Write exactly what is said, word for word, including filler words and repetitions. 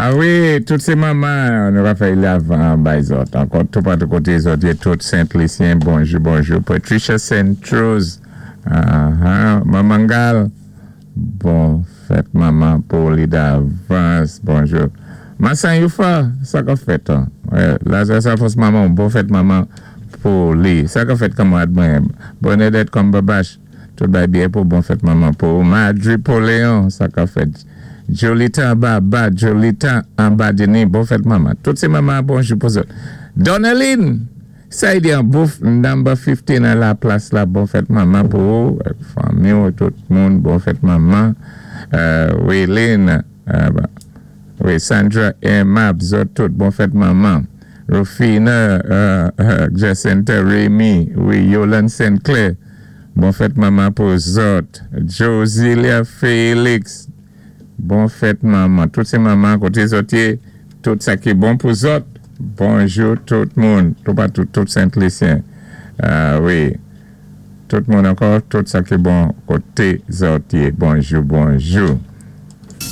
Ah wi, tout sé manman, nou va fè avan bay zòt. Ankò, tout patou koté zòt, yé tout Sent-Lisyen, bonjou, bonjou. Patricia Saint-Rose, uh -huh. Manman Gal, bon fèt manman pou li davans, bonjou. Massan Youfa, sa ka fèt, an? Ouais, la, sa, sa fòs manman, bon fèt manman pou li. Sa ka fèt kanmarad mwen. Bernadette Cumberbatch, tout bay byen pou bon fèt manman pou Madri Poléon, sa ka fèt. Jolita Baba, Jolita Ambadini, bon fèt manman. Tout sé manman, bonjou pou zòt. Donaline, sa y di an bouf number fifteen a la plas la, bon fèt manman pou fanmi, tout moun, bon fèt manman. Euh, Waylene, euh, bah, wi, Sandra Emma, zòt tout, bon fèt manman. Rufina, euh, euh, Jacinta Remy, wi, Yolande Sinclair, bon fèt manman pou zòt. Josilia Félix, bon fèt manman. Tout sé manman, koté zòt yé, tout sa ki bon pou zòt. Bonjou tout moun, tout patou, tout Sent-Lisyen. Ah wi, tout moun ankò, tout sa ki bon koté zòt yé. Bonjou, bonjou.